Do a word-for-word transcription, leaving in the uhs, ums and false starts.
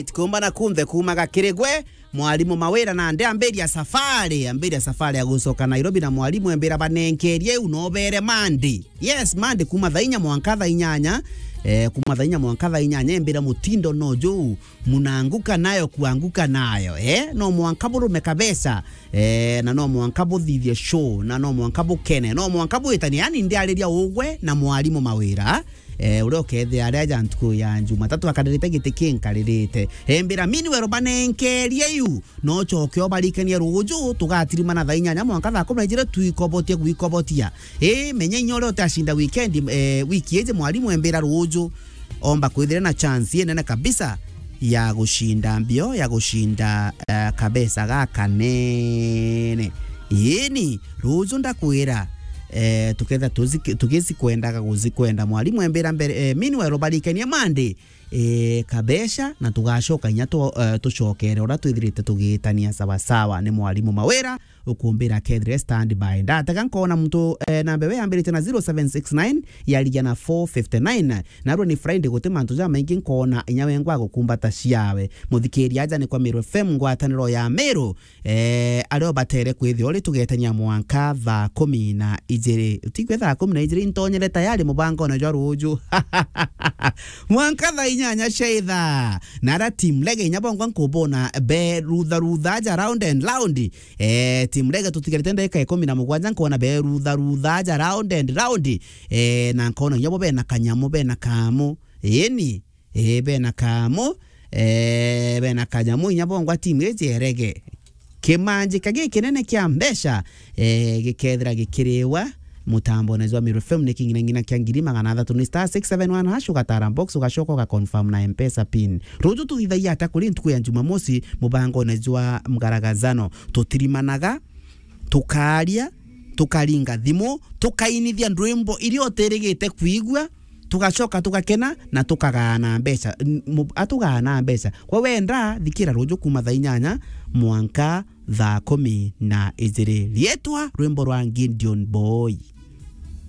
Kumba na kunthe kumaga kiri gwe, mwalimu Mawira, na ndi ambiria safari, ambiria safari ya gucoka Nairobi, na mwalimu embira banenkerie u nobere Monday. Yes, Monday kuma thaa inya mwanka thaa inyanya, eh, kuma thaa inya mwanka thaa inyanya, embira mutindo no juu, munaanguka nayo kuanguka nayo, eh, no mwanka burume kabisa, eh, na no mwanka buthithie show, na no mwanka bukene, no mwanka bwitanie, yani ndiariria ugwe na mwalimu Mawira, eh, uria ukethia aria aja ntuku ya Jumatatu akaririte giti kinkaririte. Embira mini wero banenkerie yu, no coke obarikanie ruju, tugatirimana thaa inyanya mwanka thaa kumi na ijiri twikobotie gwikobotia. Ii, menya inya uria utacinda weekend, eh, wiki iji mwalimu embira ruju, omba kwithira na chance inene kabisa ya gucinda mbio, ya gucinda, eh, kabesa gakanene. Ini, ruju ndakwira, eh, tuketha tuzi-, tugisi kwendaga guzikwenda. Mwalimu embira mbere, eh, meanwhile, ubarikanie Monday, eh, kabesha, na tugacoka inya tu-, eh, tucokere uria twithirite tugitania sawasawa. Ni mwalimu Mawira ukumbira kethire standby. Ndatega nkona muntu, eh, namba iwe yambirite na zero seven six nine, yarigia na four fifty nine. Narua ni Friday, guti mantu jamaingi nkona inya wengwa gukumbata ciawe. Muthikiria aja ni kwa Meru F M, ngwataniro ya Meru, eh, ario batere kwithia uri tugetania mwanka thaa kumi na ijiri. Utigwe thaa kumi na ijiri, intonyere tayari mubangone jwa ruju. Mwanka thaa inyanya cia ithaa. Na ara team Lege inya bongwa nkubona be rutha rutha aja round and round. Eh, team Lege tutigarite ndagika ikumi na mugwanja, nkona be rutha rutha aja round and round. Eh, na nkona inya bo bena kanyamu, bena kamu. Ini. Ii, bena kamu, eh, bena kanyamu inya bongwa timu iji erege. Kimanjika gikinene kia mbeca, eh, gikethira gikiriwa mutambone jwa Meru F M ni king'ina ng'ina kia ngiri magana athatu ni star six seven one hash, ugatara box, ugacoka ugaconfirm na M-Pesa pin. Ruju tuthithagia atia kuri ntuku ya Jumamosi mubangone jwa mgaragazano? Tutirimanaga, tukaria, tukaringa thimu, tukainithia ndwimbo iria utirigite kwigua, tugacoka tugakena na tukagaana mbeca. N-, mu-, atugaana mbeca. Kwa wenda, thikira ruju kuma thaa inyanya mwanka thaa kumi na ijiri. Rietwa rwimbo rwa Gideon Boy.